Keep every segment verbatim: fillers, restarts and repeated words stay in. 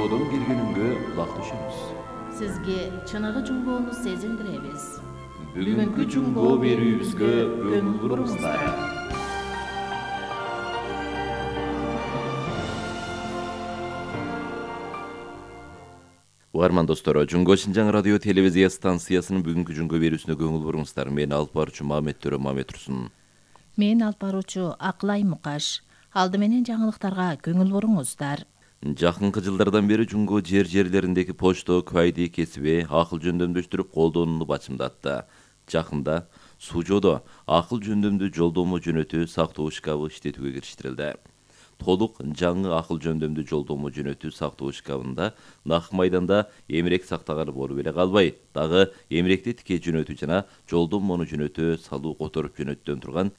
жуңгоодон бир күнүнгө кулак түшөбүз. Сизге чыныгы жуңгоону сезиндиребиз. Бүгүнкү жуңгоо берүүбүзгө көңүл буруңуздар. Угарман достор, Жуңго Шинжаң радио телевизия станциясынын бүгүнкү жуңго берүүсүнө көңүл буруңуздар. Мен алып баруучу Мамет Төрө Мамет Турсун. Мен алып баруучу Акылай Мукаш. Алды менен жаңылыктарга көңүл буруңуздар. Жакынкы жылдардан бери жуңго жер жерлериндеги почто квайди кесиби акыл жөндөмдөштүрүп колдонууну бачымдатты. Жакында Сужодо акыл жөндөмдүү жолдомо жөнөтүү сактоо шкабы иштетүүгө кириштирилди. Толук жаңы акыл жөндөмдүү жолдомо жөнөтүү сактоо шкабында нак майданда эмерек сактаганы болуп эле калбай, дагы эмеректи тике жөнөтүү жана жолдомону жөнөтүү салуу которуп жөнөтүүдөн турган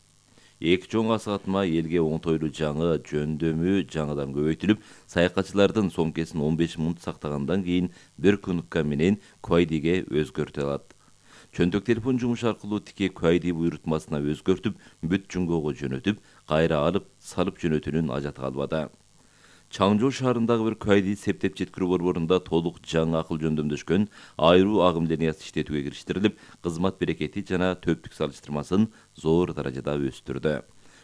эки чоң асыгатма элге оңтойлуу жаңы жөндөмү жаңыдан көбөйтүлүп, саякатчылардын сомкесин он беш мүнөт сактагандан кийин бир кнопка менен квайдиге өзгөртө алат. Чөнтөк телефон жумушу аркылуу тике квайди буйрутмасына өзгөртүп, бүт жуңгоого жөнөтүп, кайра алып, салып жөнөтүүнүн ажаты калбады. Чаңжоо шаарындагы бир квайди септеп жеткирүү борборунда толук жаңы акыл жөндөмдөшкөн айруу агым линиясы иштетүүгө кириштирилип, кызмат берекети жана төптүк салыштырмасын зор даражада өстүрдү.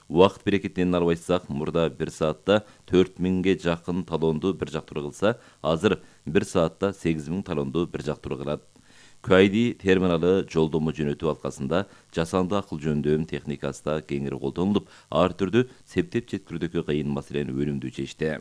Убакыт берекетинен албайсак, мурда бир саатта төрт миңге жакын талонду бир жактыруу кылса, азыр бир саатта сегиз миң талонду бир жактыруу кылат. Квайди терминалы жолдомо жөнөтүү алкасында жасанды акыл жөндөм техникасы да кеңири колдонулуп, ар түрдүү септеп жеткирүүдөгү кыйын маселени өнүмдүү чечти.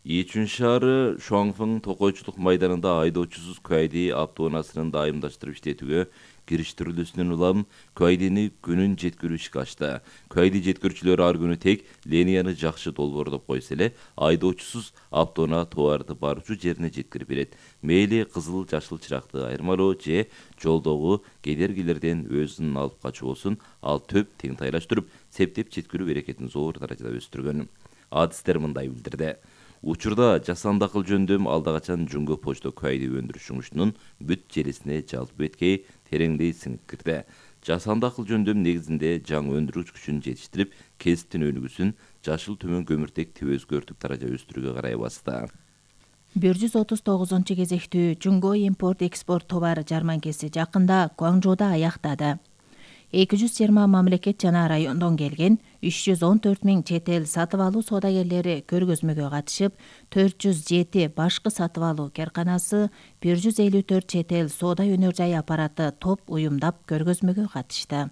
Ичүн шаары Шуаңфың токойчулук майданында айдоочусуз квайди автоунаасынын дайымдаштырып иштетүүгө кириштирилүүсүнөн улам квайдини күнүн жеткирүү ишке ачты. Квайди жеткирүүчүлөр ар күнү тек линияны жакшы долбоордоп койсо эле, айдоочусуз автоунаа товарды баруучу жерине жеткирип берет. Мейли кызыл жашыл чыракты айырмалоо же жолдогу кедергилерден өзүн алып качуу болсун, ал төп теңтайлаштырып, септеп жеткирүү берекетин зор даражада өстүргөн. Адистер мындай билдирди. Учурда жасанды акыл жөндөм алда качан жуңго почто квайди өндүрүш жумушунун бүт желесине жалпы беткей тереңдей сиңип кирди. Жасанды акыл жөндөм негизинде жаңы өндүрүш күчүн жетиштирип, кесиптин өнүгүүсүн жашыл төмөн көмүртек тип өзгөртүп даража өстүрүүгө карай басты. бир жүз отуз тогузунчу кезектүү жуңго импорт экспорт товар жарманкеси жакында Гуаңжоодо аяктады. эки жүз жыйырма мамлекет жана райондон келген үч жүз он төрт миң чет эл сатып алуу соодагерлери көргөзмөгө катышып, төрт жүз жети башкы сатып алуу карканасы, бир жүз элүү төрт чет эл соода өнөр жай аппараты топ уюмдап көргөзмөгө катышты.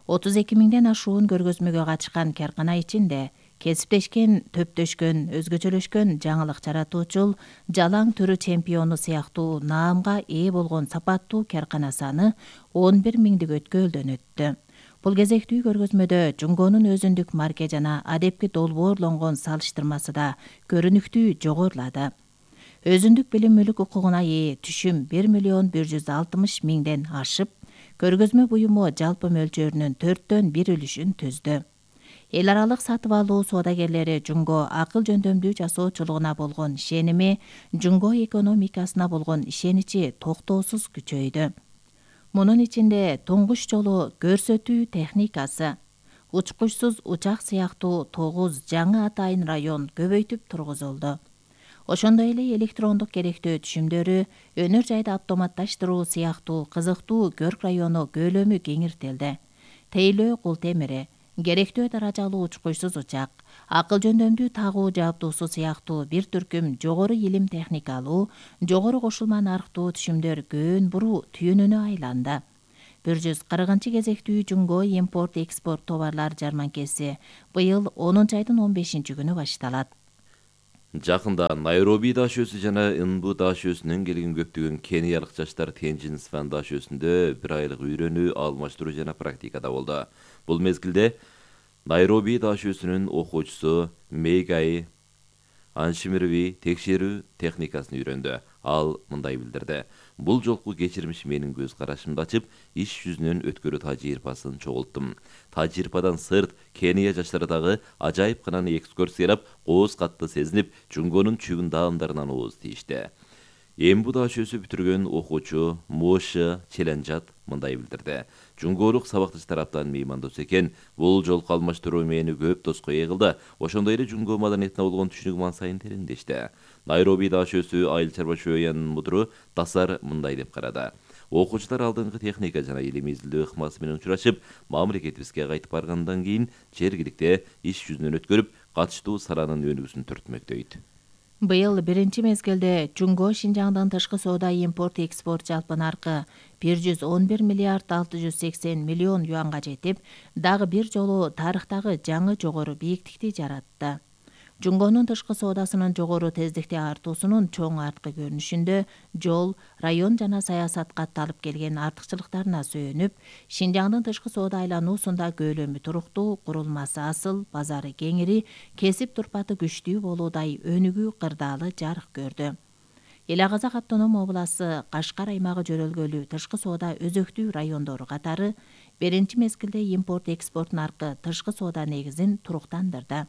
отуз эки миңден ашуун көргөзмөгө катышкан каркана ичинде кесиптешкен, төптөшкөн, өзгөчөлөшкөн жаңылык жаратуучул, жалаң түрү чемпиону сыяктуу наамга ээ болгон сапаттуу каркана саны он бир миңдигөткө өлдөнөттү. Бул кезектүү көргөзмөдө жуңгонун өзүндүк марке жана адепки долбоорлонгон салыштырмасы да көрүнүктүү жогорулады. Өзүндүк билим мүлк укугуна ээ түшүм бир миллион бир жүз алтымыш миңден ашып, көргөзмө буюму жалпы мөлчөрүнүн төрттөн бир үлүшүн түздү. Эл аралык сатып алуу соодагерлери жуңго акыл жөндөмдүү жасоочулугуна болгон ишеними, жуңго экономикасына болгон ишеничи токтоосуз күчөйдү. Мунун ичинде туңгуч жолу көрсөтүү техникасы, учкучсуз учак сыяктуу тогуз жаңы атайын район көбөйтүп тургузулду. Ошондой эле электрондук керектөө түшүмдөрү, өнөр жайды автоматташтыруу сыяктуу кызыктуу көрк району көлөмү кеңиртилди. Тейлөө кул темири, керектөө даражалуу учкучсуз учак, акыл жөндөмдүү тагуу жабдуусу сыяктуу бир түркүм жогору илим техникалуу, жогору кошулма нарктуу түшүмдөр көөн буруу түйүнүнө айланды. бир жүз кыркынчы кезектүү жуңго импорт экспорт товарлар жарманкеси быйыл онунчу айдын он бешинчи күнү башталат. Жакында Найроби дашөөсү жана Инбу дашөөсүнөн келген көптөгөн кениялык жаштар Тенжин Сван дашөөсүндө бир айлык үйрөнүү, алмаштыруу жана практикада болду. Бул мезгилде Найроби дашөөсүнүн окуучусу Мейгай Аншимирви текшерүү техникасын үйрөндү. Ал мындай билдирди. Бул жолку кечирмиш менин көз карашымды ачып, иш жүзүнөн өткөрүү тажрыйбасын чогулттум. Тажрыйбадан сырт Кения жаштары дагы ажайып кынаны экскурсиялап, кооз катты сезинип, жуңгонун чүгүн даамдарынан ооз тийишти. Эмбу дашөсү бүтүргөн окуучу Моша Челенжат мындай билдирди. Жунгоолук сабакташ тараптан меймандос экен, бул жолку алмаштыруу мени көп тоскоой кылды. Ошондой эле жунгоо маданиятына болгон түшүнүгүм ан сайын тереңдешти. Найроби дашөсү айыл чарба шөөнүн мудуру Тасар мындай деп карады. Окуучулар алдыңкы техника жана илим изилдөө ыкмасы менен учурашып, мамлекетибизге кайтып баргандан кийин жергиликте иш жүзүнөн өткөрүп, катыштуу саланын өнүгүүсүн түртмөк дейт. Быйыл биринчи мезгилде Жунго Шинжаңдын тышкы соода импорт экспорт жалпы наркы бир жүз он бир миллиард алты жүз сексен миллион юанга жетип, дагы бир жолу тарыхтагы жаңы жогору бийиктикти жаратты. Жунгонун тышкы соодасынын жогору тездикте артуусунун чоң арткы көрүнүшүндө жол, район жана саясат катты алып келген артыкчылыктарына сүйөнүп, Шинжаңдын тышкы соода айлануусунда көөлөмү туруктуу, курулмасы асыл, базары кеңири, кесип турпаты күчтүү болуудай өнүгүү кырдаалы жарык көрдү. Эле Казак автоном обласы Кашкар аймагы жөрөлгөлүү тышкы соода өзөктүү райондору катары биринчи мезгилде импорт экспорт наркы тышкы соода негизин туруктандырды.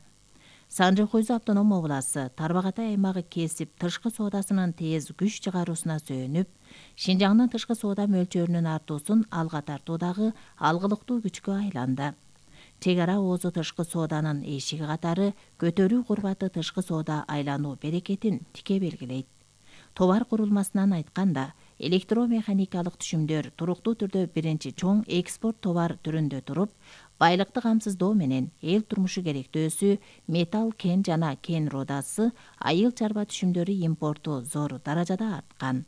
Санжы-Койзу автоном обласы Тарбагатай аймагы кесип тышкы соодасынын тез күч чыгаруусуна сүйөнүп, Шинжаңдын тышкы соода мөлчөрүнүн артуусун алга тартуудагы алгылыктуу күчкө айланды. Чек ара оозу тышкы сооданын эшиги катары көтөрүү курбаты тышкы соода айлануу берекетин тике белгилейт. Товар курулмасынан айтканда, электромеханикалык түшүмдөр туруктуу түрдө биринчи чоң экспорт товар түрүндө туруп, байлыкты камсыздоо менен эл турмушу керектөөсү, металл кен жана кен рудасы, айыл чарба түшүмдөрү импорту зор даражада арткан.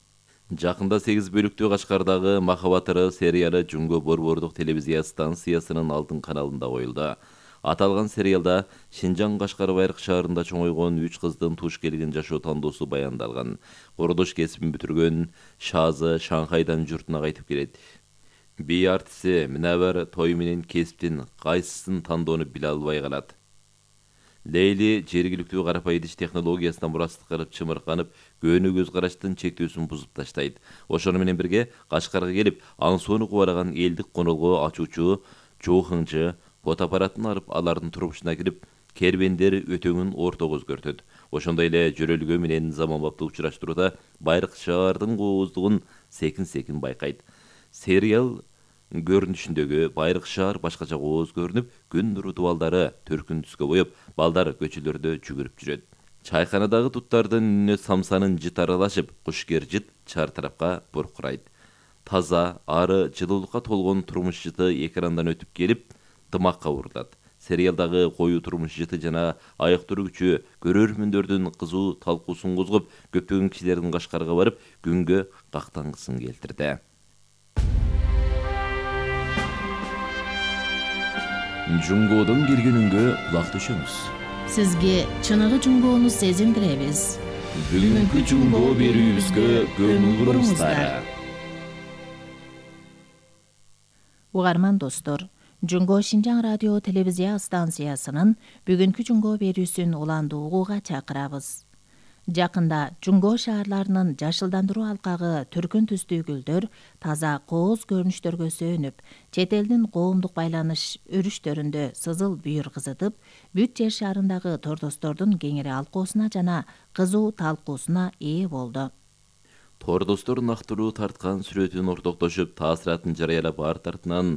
Жакында сегиз бөлүктүү Кашкардагы Махабат ыры сериалы Жунго борбордук телевизия станциясынын алдын каналында коюлду. Аталган сериалда Шинжаң Кашкар Байыркы шаарында чоңойгон үч кыздын туш келген жашоо тандоосу баяндалган. Курулуш кесибин бүтүргөн Шазы Шанхайдан журтуна кайтып келет. Би артиси Минабар той менен кесиптин кайсысын тандоону биле албай калат. Лейли жергиликтүү карапай идиш технологиясына мурастык кылып чымырканып, көөнү көз караштын чектөөсүн бузуп таштайт. Ошону менен бирге Кашкарга келип, аң соону кубараган элдик конолго ачуучу Чоухыңжы фотоаппаратын алып, алардын турмушуна кирип, кербендер өтөңүн ортого өзгөртөт. Ошондой эле жөрөлгөө менен заманбапты учураштырууда Байыркы шаардын кооздугун секин-секин байкайт. Сериал көрүнүшүндөгү Байыркы шаар башкача кооз көрүнүп, күн нуру дубалдары төркүн түскө боеп, балдар көчөлөрдө жүгүрүп жүрөт. Чайканадагы туттардын үнүнө самсанын жыт аралашып, кушкер жыт чар тарапка буркурайт. Таза, ары, жылуулукка толгон турмуш жыты экрандан өтүп келип, дымакка урулат. Сериалдагы коюу турмуш жыты жана аяк тургучу көрөрмөндөрдүн кызуу талкуусун козгоп, көптөгөн кишилердин Кашкарга барып, күнгө кактангысын келтирди. Жунгоодон келгенүнгө кулак түшөңүз. Сизге чыныгы жунгоону сезиндиребиз. Бүгүнкү жунгоо берүүбүзгө көңүл буруңуздар. Угарман достор, Жунго Шинжаң радио телевизия станциясынын бүгүнкү жунгоо берүүсүн уланды угууга чакырабыз. Жакында Жунго шаарларынын жашылдандыруу алкагы түркүн түстүү гүлдөр таза кооз көрүнүштөргө сөөнүп, чет элдин коомдук байланыш өрүштөрүндө сызыл бүйүр кызытып, бүт жер шарындагы тордостордун кеңири алкоосуна жана кызуу талкуусуна ээ болду. Тордостор нактыруу тарткан сүрөтүн ортоктошуп, таасиратын жарыялап, арт артынан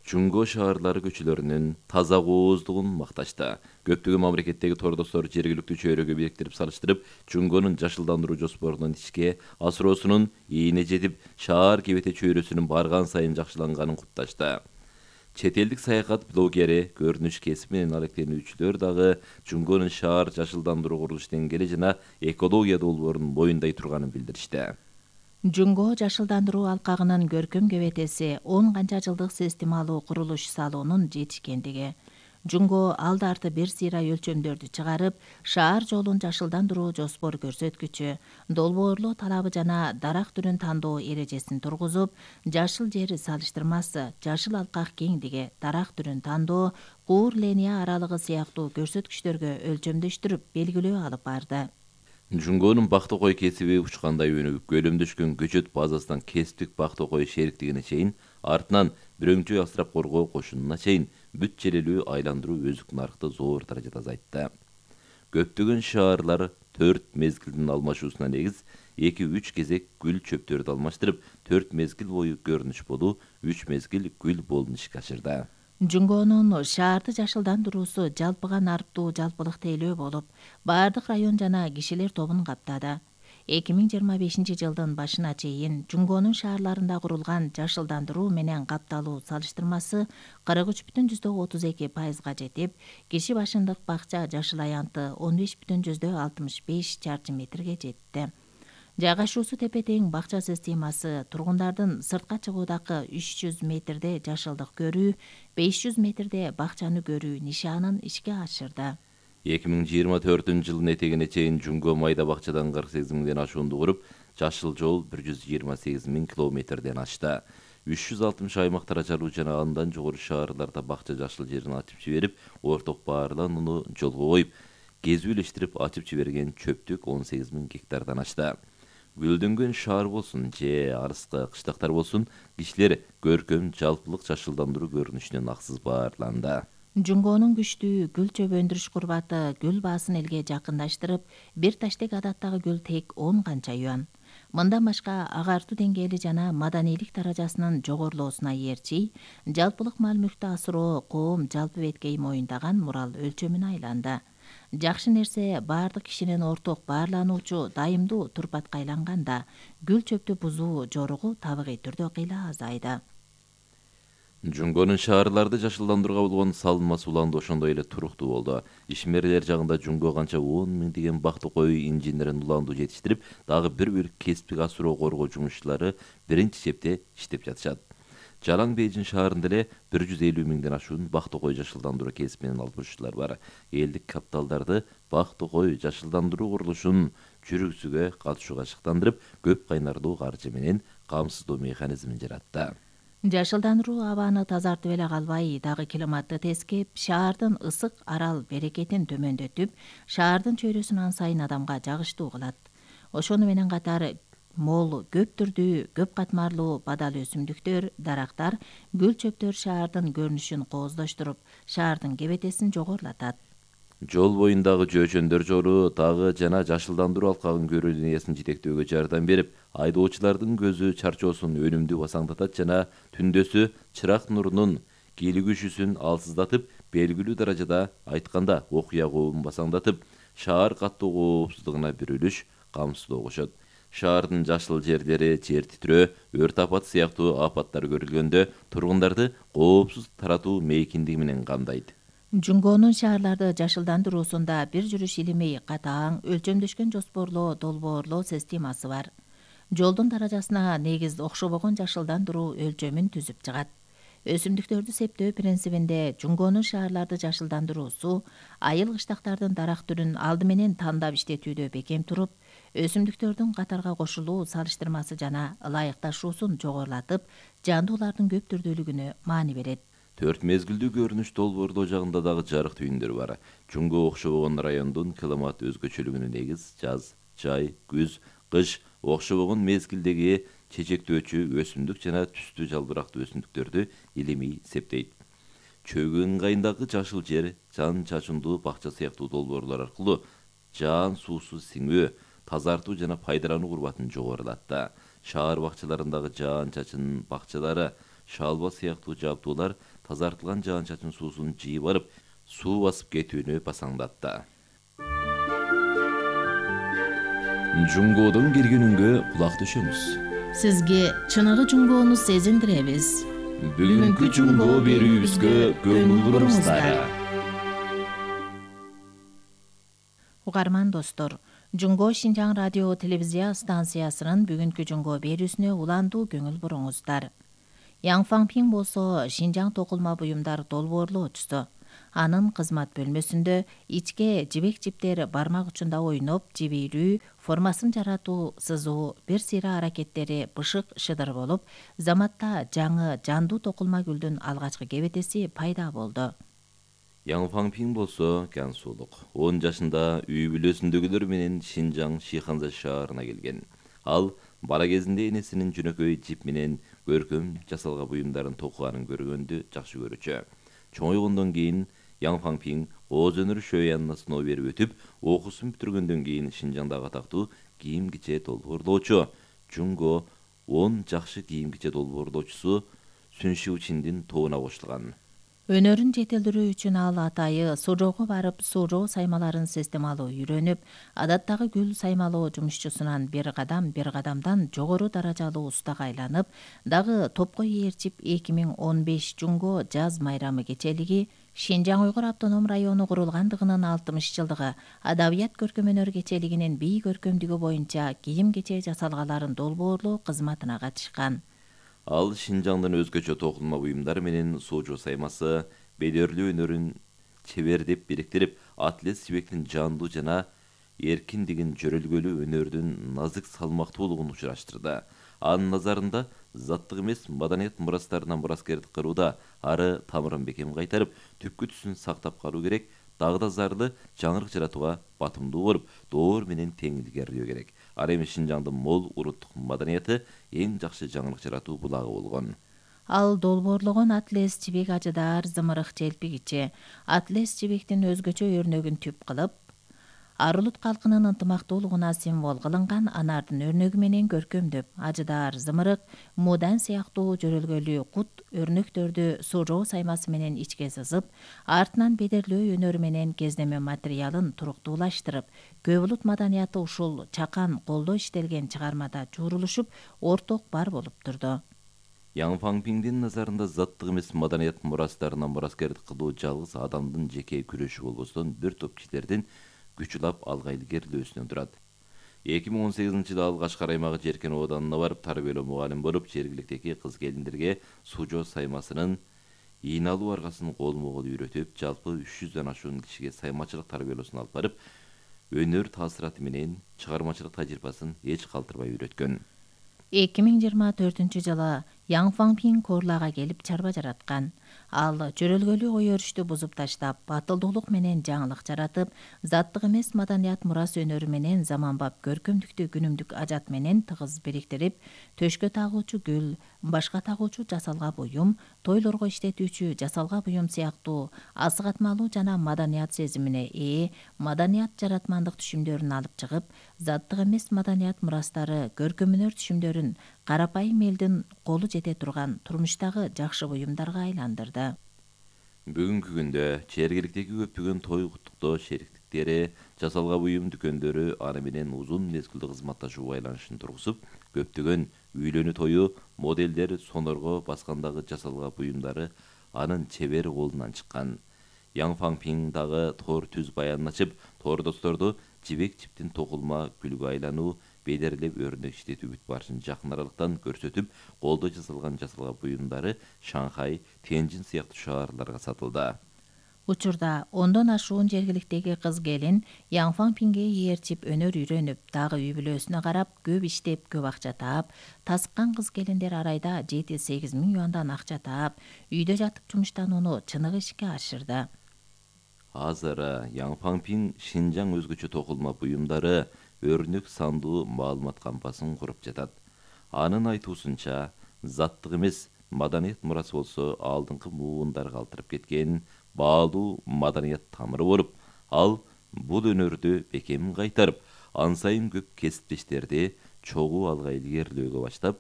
Жунго шаарлары көчөлөрүнүн таза кооздугун макташты. Көптөгөн мамлекеттеги тордостор жергиликтүү чөйрөгө бириктирип салыштырып, Жунгонун жашылдандыруу жоспорунун ишке асыруусунун ийине жетип, шаар кебете чөйрөсүнүн барган сайын жакшыланганын кутташты. Чет элдик саякат блогери, көрүнүш кесип менен алектенүүчүлөр дагы Жунгонун шаар жашылдандыруу курулуш деңгээли жана экология долбоорун моюндай турганын билдиришти. Жунго жашылдандыруу алкагынын көркөм кебетеси он канча жылдык системалуу курулуш салуунун жетишкендиги. Жунго алды арты бир сыйра өлчөмдөрдү чыгарып, шаар жолун жашылдандыруу жоспор көрсөткүчү, долбоорлоо талабы жана дарак түрүн тандоо эрежесин тургузуп, жашыл жери салыштырмасы, жашыл алкак кеңдиги, дарак түрүн тандоо, куур линия аралыгы сыяктуу көрсөткүчтөргө өлчөмдөштүрүп белгилөө алып барды. Жунгонун бактокой кесиби учкандай өнүгүп, көлөмдөшкөн көчөт базасынан кесиптик бактокой шериктигине чейин, артынан бирөңчөй асырап коргоо кошунуна чейин бүт желелүү айландыруу өзүк нарыкты зор даражада азайтты. Көптөгөн шаарлар төрт мезгилдин алмашуусуна негиз эки үч кезек гүл чөптөрдү алмаштырып, төрт мезгил бою көрүнүш болуу, үч мезгил гүл болуну ишке ашырды. Жунгонун шаарды жашылдандыруусу жалпыга нарптуу жалпылык тейлөө болуп, баардык район жана кишилер тобун каптады. эки миң жыйырма бешинчи жылдын башына чейин Жунгонун шаарларында курулган жашылдандыруу менен капталуу салыштырмасы кырк үч бүтүн жүздөн отуз эки пайызга жетип, киши башындык бакча жашыл аянты он беш бүтүн жүздөн алтымыш беш чарчы метрге жетти. Жайгашуусу тепе-тең бакча системасы тургундардын сыртка чыгуудагы үч жүз метрде жашылдык көрүү, беш жүз метрде бакчаны көрүү нишанын ишке ашырды. эки миң жыйырма төртүнчү жылдын этегине чейин Жунго майда бакчадан кырк сегиз миңден ашуунду куруп, жашыл жол бир жүз жыйырма сегиз миң километрден ашты. үч жүз алтымыш аймактар ачаруу жана андан жогору шаарларда бакча жашыл жерин ачып жиберип, орток баарланууну жолго коюп, кезүүлештирип ачып жиберген чөптүк он сегиз миң гектардан ашты. Гүлдөнгөн шаар болсун же арыскы кыштактар болсун, кишилер көркөм жалпылык жашылдандыруу көрүнүшүнөн аксыз баарланды. Жунгонун күчтүү гүл чөп өндүрүш курбаты гүл баасын элге жакындаштырып, бир таштек адаттагы гүл тек он канча юан. Мындан башка агартуу деңгээли жана маданийлик даражасынын жогорулоосуна ээрчи, жалпылык мал мүлктү асыроо коом жалпы беткей моюндаган мурал өлчөмүнө айланды. Жакшы нерсе баардык кишинин орток баарлануучу дайымдуу турпатка айланганда, гүл чөптү бузуу жоругу табигый түрдө кыйла азайды. Жунгонун шаарларды жашылдандырууга болгон салынмасы уланды ошондой эле туруктуу болду. Ишмерлер жагында Жунго канча он миңдеген бактыкой инженерин уланду жетиштирип, дагы бир бир кесиптик асыроо коргоо жумушчулары биринчи чепте иштеп жатышат. Жалаң Бейжин шаарында эле бир жүз элүү миңден ашуун бактыкой жашылдандыруу кесип менен алышуучулар бар. Элдик капиталдарды бактыкой жашылдандыруу курулушун жүргүзүүгө катышууга шыктандырып, көп кайнарлуу каржы менен камсыздоо механизмин жаратты. Жашылдандыруу абаны тазартып эле калбай, дагы климатты тескеп, шаардын ысык арал берекетин төмөндөтүп, шаардын чөйрөсүн ан сайын адамга жагыштуу кылат. Ошону менен катар мол, көп түрдүү, көп катмарлуу бадал өсүмдүктөр, дарактар, гүл чөптөр шаардын көрүнүшүн кооздоштуруп, шаардын кебетесин жогорулатат. Жол боюндагы жөөчөндөр жору дагы жана жашылдандыруу алкагын көрүү линиясын жетектөөгө жардам берип, айдоочулардын көзү чарчоосун өнүмдүү басаңдатат жана түндөсү чырак нурунун кийлигишүүсүн алсыздатып, белгилүү даражада айтканда окуя кообун басаңдатып, шаар каттоо коопсуздугуна бир үлүш камсыздоо кошот. Шаардын жашыл жерлери, жер титрөө, өрт апаты сыяктуу апаттар көрүлгөндө тургундарды коопсуз таратуу мейкиндиги менен камдайт. Жунгонун шаарларды жашылдандыруусунда бир жүрүш илимий катаң, өлчөмдөшкөн жоспорлоо, долбоорлоо системасы бар. Жолдун даражасына негиз окшобогон жашылдандыруу өлчөмүн түзүп чыгат. Өсүмдүктөрдү септөө принцибинде Жунгонун шаарларды жашылдандыруусу айыл кыштактардын дарак түрүн алды менен тандап иштетүүдө бекем туруп, өсүмдүктөрдүн катарга кошулуу салыштырмасы жана ылайыкташуусун жогорулатып, жандуулардын көп түрдүүлүгүнө маани берет. Төрт мезгилдүү көрүнүш долбоорлоо жагында дагы жарык түйүндөр бар. Жунго окшобогон райондун климат өзгөчөлүгүнө негиз жаз, жай, күз, кыш окшобогон мезгилдеги чечектөөчү өсүмдүк жана түстүү жалбырактуу өсүмдүктөрдү илимий септейт. Чөгү ыңгайындагы жашыл жер, жан чачындуу бакча сыяктуу долбоорлор аркылуу жаан суусу сиңүү, тазартуу жана пайдалануу курбатын жогорулатты. Шаар бакчаларындагы жаан чачын бакчалары, шалба сыяктуу жабдуулар тазартылган жаан чачын суусун жыйып барып, суу басып кетүүнү басаңдатты. Жунгодон келген үнгө кулак түшөмүз. Сизге чыныгы Жунгону сезиндиребиз. Бүгүнкү Жунго берүүбүзгө көңүл буруңуздар. Угарман достор, Жунго Шинжаң радио телевизия станциясынын бүгүнкү Жунго берүүсүнө уландуу көңүл буруңуздар. Яң Фаңпиң болсо Шинжаң токулма буюмдар долбоорлоочусу. Анын кызмат бөлмөсүндө ичке жибек жиптер бармак учунда ойноп, жибирүү, формасын жаратуу, сызуу, бир сыйра аракеттери бышык шыдыр болуп, заматта жаңы жандуу токулма гүлдүн алгачкы кебетеси пайда болду. Яң Фаңпиң болсо Кансулук. он жашында үй бүлөсүндөгүлөр менен Шинжаң Шиханза шаарына келген. Ал бала кезинде энесинин жөнөкөй жип менен көркөм жасалган буюмдарын токуганын көргөндү жакшы көрүүчү. Чоңойгондон кийин Яң Фаңпиң Ооз өнөр шөянына сыноо берип өтүп, окуусун бүтүргөндөн кийин Шинжаңдагы атактуу кийим киче долбоорлоочу Жунго он жакшы кийим киче долбоорлоочусу Сүншүү Чиндин тобуна кошулган. Өнөрүн жетилдирүү үчүн ал атайы Сужоого барып, сужоо саймаларын системалуу үйрөнүп, адаттагы гүл саймалоо жумушчусунан бир кадам бир кадамдан жогору даражалуу устага айланып, дагы топко ээрчип эки миң он беш Жунго жаз майрамы кечелиги, Шинжаң Уйгур автоном району курулгандыгынын алтымыш жылдыгы, Адабият көркөм өнөр кечелигинин бий көркөмдүгү боюнча кийим кече жасалгаларын долбоорлоо кызматына катышкан. Ал Шинжаңдын өзгөчө токулма буюмдары менен сужоо саймасы, бедерлүү өнөрүн чебердеп бириктирип, атлет жибектин жандуу жана эркиндигин, жөрөлгөлүү өнөрдүн назык салмактуулугун учураштырды. Анын назарында заттык эмес маданият мурастарынан мураскердик кырууда ары тамырын бекем кайтарып, түпкү түсүн сактап калуу керек, дагы да зарды жаңырык жаратууга батымдуу болуп, доор менен тең илгерилөө керек. Ал эми Шинжаңдын мол уруттук маданияты эң жакшы жаңырык жаратуу булагы болгон. Ал долбоорлогон атлес жибек ажыдаар зымырык желпигичи, атлес жибектин өзгөчө өрнөгүн түп кылып, Арулут калкынын ынтымактуулугуна символ кылынган анардын өрнөгү менен көркөмдөп, ажыдаар зымырык, мудан сыяктуу жөрөлгөлүү кут өрнөктөрдү сужоо саймасы менен ичке сызып, артынан бедерлөө өнөрү менен кездеме материалын туруктуулаштырып, көп улут маданияты ушул чакан колдо иштелген чыгармада жуурулушуп, орток бар болуп турду. Яң Фаңпиңдин назарында заттык эмес маданият мурастарынан мураскердик кылуу жалгыз адамдын жеке күрөшү болбостон бир топ кишилердин күч улап алга илгерилөөсүнөн турат. эки миң он сегизинчи жылы ал Кашкар аймагы Жеркен ооданына барып, тарбиялоо мугалим болуп, жергиликтеги кыз-келиндерге сужоо саймасынын ийналуу аргасын колмо-кол үйрөтүп, жалпы үч жүздөн ашуун кишиге саймачылык тарбиялоосун алып барып, өнөр таасираты менен чыгармачылык тажрыйбасын эч калтырбай үйрөткөн. эки миң жыйырма төртүнчү жылы Яң Фаңпиң Корлага келип чарба жараткан. Ал жөрөлгөлүү ой өрүштү бузуп таштап, батылдуулук менен жаңылык жаратып, заттык эмес маданият мурас өнөрү менен заманбап көркөмдүктү күнүмдүк ажат менен тыгыз бириктирип, төшкө тагуучу гүл, башка тагуучу жасалга буюм, тойлорго иштетүүчү жасалга буюм сыяктуу асыгатмалуу жана маданият сезимине ээ маданият жаратмандык түшүмдөрүн алып чыгып, заттык эмес маданият мурастары, көркөм өнөр түшүмдөрүн карапайым элдин колу жете турган турмуштагы жакшы буюмдарга айландырды. Бүгүнкү күндө жергиликтеги көптөгөн той куттуктоо шериктиктери, жасалга буюм дүкөндөрү аны менен узун мезгилдүү кызматташуу байланышын тургузуп, көптөгөн үйлөнүү тою, моделдер сонорго баскандагы жасалга буюмдары анын чебер колунан чыккан. Яң Фаңпиң дагы тор түз баянын ачып, тордосторду жибек жиптин токулма гүлгө айлануу, бедерлеп өрнөк иштетүү бүт барышын жакын аралыктан көрсөтүп, колдо жасалган жасалга буюмдары Шанхай, Тенжин сыяктуу шаарларга сатылды. Учурда ондон ашуун жергиликтеги кыз-келин Яң Фаңпиңге ээрчип өнөр үйрөнүп, дагы үй бүлөсүнө карап, көп иштеп, көп акча таап, тасыккан кыз-келиндер арайда жети сегиз миң юандан акча таап, үйдө жатып жумуштанууну чыныгы ишке ашырды. Азыр Яң Фаңпиң Шинжаң өзгөчө токулма буюмдары, өрнөк сандуу маалымат кампасын куруп жатат. Анын айтуусунча, заттык эмес маданият мурасы болсо алдыңкы муундар калтырып кеткен баалуу маданият тамыры болуп, ал бул өнөрдү бекем кайтарып, ан сайын көп кесиптештерди чогуу алга илгерилөөгө баштап,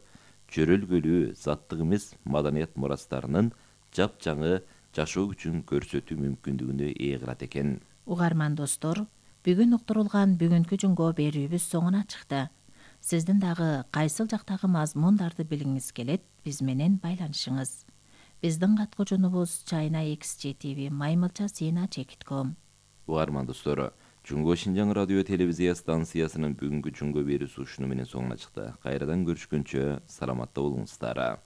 жөрөлгөлүү заттык эмес маданият мурастарынын жапжаңы жашоо күчүн көрсөтүү мүмкүндүгүнө ээ кылат экен. Угарман достор, бүгүн уктурулган бүгүнкү Жунго берүүбүз соңуна чыкты. Сиздин дагы кайсыл жактагы мазмундарды билгиңиз келет, биз менен байланышыңыз. Биздин каткуучунубуз China X J T V Маймылча Сина Чекит ком. Угарман достор, Жунго Шинжаң радио телевизия станциясынын бүгүнкү Жунго берүүсү ушуну менен соңуна чыкты. Кайрадан көрүшкөнчө саламатта болуңуздар.